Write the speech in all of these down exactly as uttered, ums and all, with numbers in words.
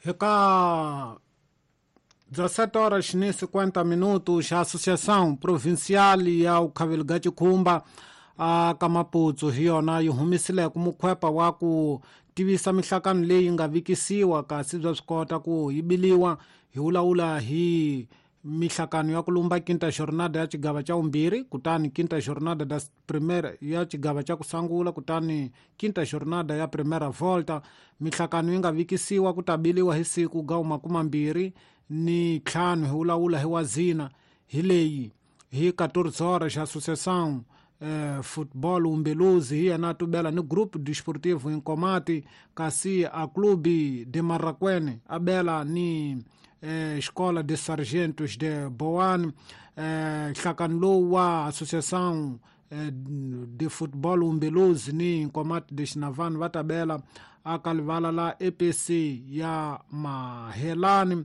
Eka dezessete horas e cinquenta minutos, a Associação Provincial ya Ukhaveliga Chikhumba a ka Maputsu hi yona yi humisile ku mukhwepa wa ku tivisa mihlakano leyi nga vikisiwa kasi bya swi kota ku yi biliwa hi vulavula hi mihlakano ya ku lumba quinta jornada ya xigava xa vumbirhi, kutani quinta jornada da primeira ya xigava xa ku sungula, kutani quinta jornada ya primeira volta. Mihlakano yi nga vikisiwa ku ta biliwa hi siku ga makumambirhi ni ntlhanu hi vulavula hi wazina hi leyi hi quatorze horas Associação eh, Futebol Umbeluzi hi yena tubela ni Grupo Desportivo Inkomati, kasi a Clube de Marraquene abela ni eh, Escola de Sargentos de Boane. eh, nhlakano lowu wa Associação eh, de Futebol Umbeluzi ni Inkomati de Xinavani va tabela aka livala la E P C ya Mahelani.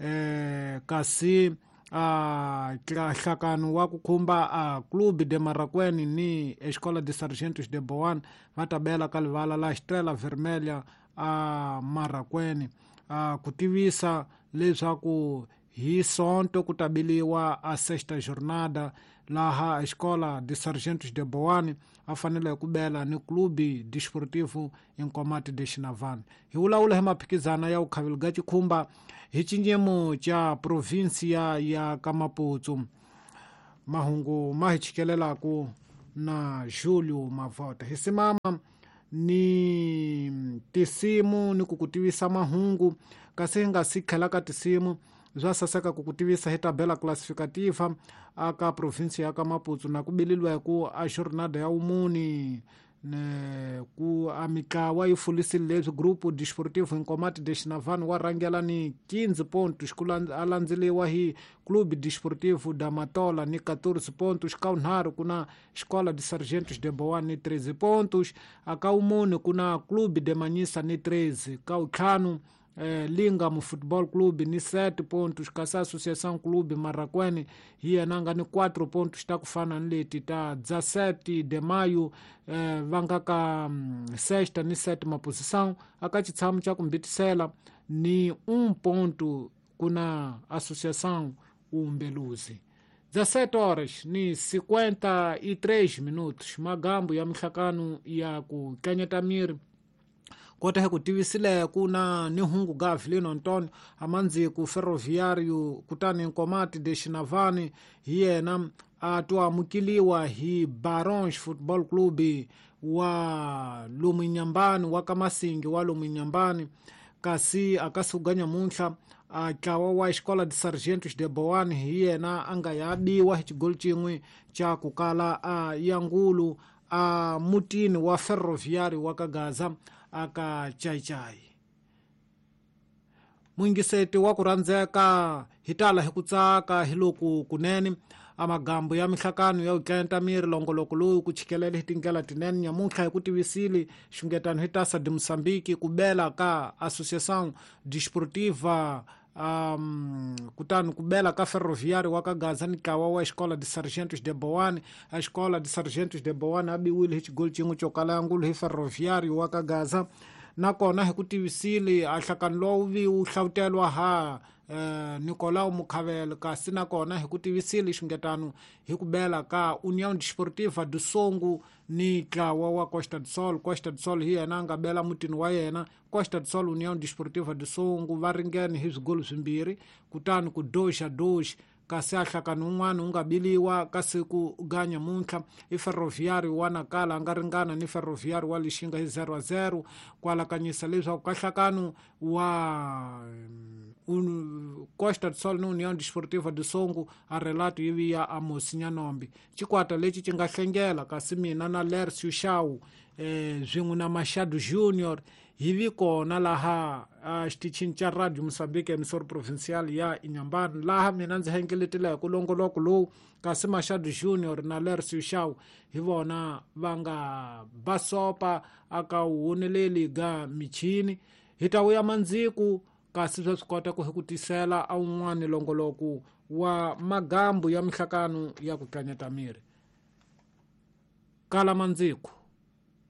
eh, kasi a nhlakano wa ku khumba a Clube de Marraquene ni Escola de Sargentos de Boane va tabela ka livala la Estrela Vermelha a Marraquene. A ku tivisa leswaku hi Sonto ku tabiliwa a sexta jornada laha Escola de Sargentos de Boane a fanele ku bela ni Clube Desportivo Inkomati de Xinavani. Hi vulavula hi maphikizana ya Ukhaveliga Chikhumba hi xinyemo xa provinsia ya ka Maputsu. Mahungu ma hi chikelelaku na Julio Mavota. Hi simama ni tisimu ni ku ku tivisa mahungu, kasi hi nga si tlhela ka tisimu bya saseka ku ku tivisa hi tabela classificativa aka provinsia ya ka Maputsu na ku bililwa ku a jornada ya umuni ne ku a mitlawa yi fulisile leswi Grupo Desportivo Inkomati de Xinavani wa rhangela ni quinze pontos, ku a landzeliwa hi Clube Desportivo da Matola ni quatorze pontos, ka unharhu ku na Escola de Sargentos de Boane ni treze pontos, aka umune ku na Clube de Manhissa ni treze, ka utlhanu eh, Lingam Futebol Clube ni sete pontos, kasi Associação Clube Marraquene hi yena nga ni quatro pontos ta ku fana ni leti ta dezessete de maio eh, va nga ka sexta ni sétima posição. Aka xitshamo xa ku mbitisela ni um ponto ku na Associação Umbeluzi. dezessete horas ni cinquenta e três minutos, magambo ya mihlakano ya ku tlanyeta miri. Kota hi ku tivisile ku na ni hungu ga Avelino Antonio amandziku Ferroviário kutani Inkomati de Xinavani hi yena a to amukeliwa hi Barons Football Club wa Lomunyambani wa Kamasingi wa Lomunyambani, kasi akasuga nyamuntlha a ntlawa wa Escola de Sargentos de Boane hi yena a nga ya biwa hi xigoli xin'we xa ku kala a yangulu a mutini wa Ferroviário wa Kagaza aka Chaichai. Mwingiseti wa ku rhandzeka hi tala hi ku tsaka hi loku kunene amagambo ya mihlakano ya utlenta miri longoloko lowu ku chikelela hi tindlela tinene nyamuntlha hi ku tivisile xungetano hi Taça de Moçambique ku bela ka Associação Desportiva um, kutani ku bela ka Ferroviário wa Kagaza ni ntlawa wa Escola de Sargentos de Boane. A Escola de Sargentos de Boane a biwile hi xigoli xin'we xo kala ngulu hi Ferroviário wa Kagaza. Nakona hi ku tivisile a nhlakano lowu vi wu hlawutelwa ha eh, Nicolau Mukhavele, kasi nakona hi ku tivisile xungetano hi ku bela ka União Desportiva do Songo ni ntlawa wa Costa do Sol. Costa do Sol hi yena a nga bela mutini wa yena. Costa do Sol União Desportiva do Songo va ringene hi swigolo swimbirhi, kutani ku dois a dois, kasi a nhlakano wun'wana wu nga biliwa ka siku ga nyamuntlha i Ferroviário wa Nacala a nga ringana ni Ferroviário wa Lixinga hi zero a zero, ku alakanyisa leswaku ka nhlakano wa un, Costa do Sol ni União Desportiva do Songo a relato yi vi ya Amos Nyanombi. Xikwata lexi xi nga hlengela kasi mina na Lercio Shaw eh, swin'we na Machado Junior hi vi kona laha a xitichini xa Radio Moçambique emissora provincial ya Inhambane, laha mina ndzi hengeletile ku longoloko lowu, kasi Machado Junior na Lercio Shaw hi vona va nga basopa aka woneleli ga michini. Hi ta vuya mandziku kasi swa swi kota ku hi ku tisela a wun'wani longoloko wa magambu ya mihlakano ya ku tlanyeta miri. Kala mandziku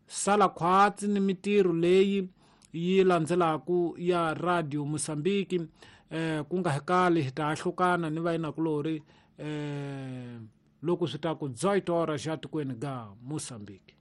sala khwatsi ni mitirho leyi yi landzelaku ya Radio Mozambique. Eh ku nga hekali hi ta ahlukana ni vayinakulori eh loko swi ta ku dezoito horas ya tikweni ga Mozambique.